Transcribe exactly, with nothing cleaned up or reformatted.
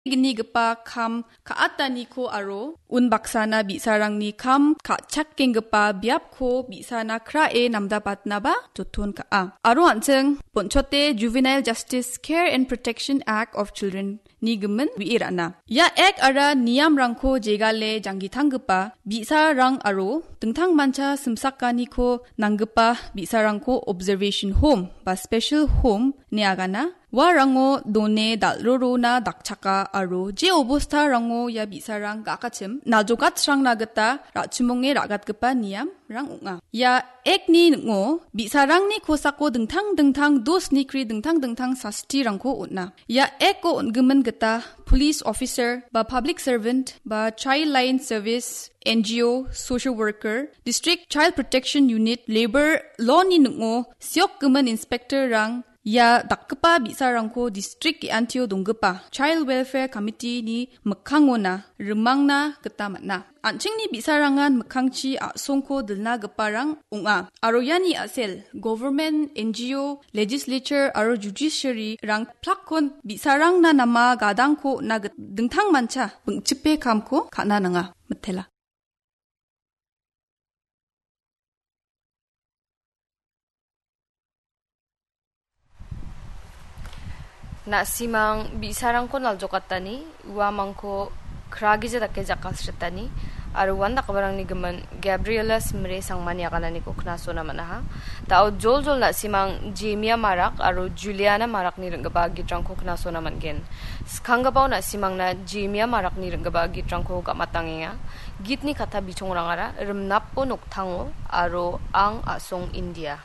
gnigipa kam ka·ataniko aro unbaksana bi·sarangni kam ka·chakenggipa biapko bi·sana krae namdapatnaba joton ka·a. Aro an·ching bonchote Juvenile Justice Care and Protection Act of Children ni gimin wi·e ra·na. Ia ek ara niamrangko jegale janggitanggipa bi·sarang aro dingtangmancha simsakaniko nanggipa bi·sarangko observation home ba special home ine agana. Uarango done dal·rorona dakchaka aro je obostarango ia bi·sarang ga·akachim naljokatsrangna gita ra·chimonge ra·gatgipa niamrang ong·a. Ia Act-ni ning·o bi·sarangni kosako dingtang dingtang dos nikri dingtang dingtang sastirangko on·a. Ia Act-o on·gimin gita police officer ba public servant ba child line service, N G O, social worker, district child protection unit, labour law-ni ning·o siokgimin inspector-rang ia dakgipa bi·sarangko distrik ge·antio donggipa Child Welfare Committee-ni mikkangona rimangna gita man·a. An·chingni bi·sarangan mikkangchi a·songko dilnagiparang ong·a. Aro iani a·sel government, N G O, legislature aro judiciary-rang plakkon bi·sarangna nama gadangko on·a git-, dingtangmancha bingchipe kamko ka·na nanga. Mitela. Na·simang bi·sarangko naljokatani, uamangko kragija dake jakasritani, aro uandakgiparangni gimin Gabriela Simre Sangmani agananiko knasona man·aha. Da·o joljol na·simang Jemia Marak aro Juliana Marakni ring·gipa gitrangko knasona man·gen. Skanggipao na·simangna Jemia Marakni ring·gipa gitrangko gam·atangenga. Gitni katta bichongrangara Rimnapo Noktango aro Ang a·song India.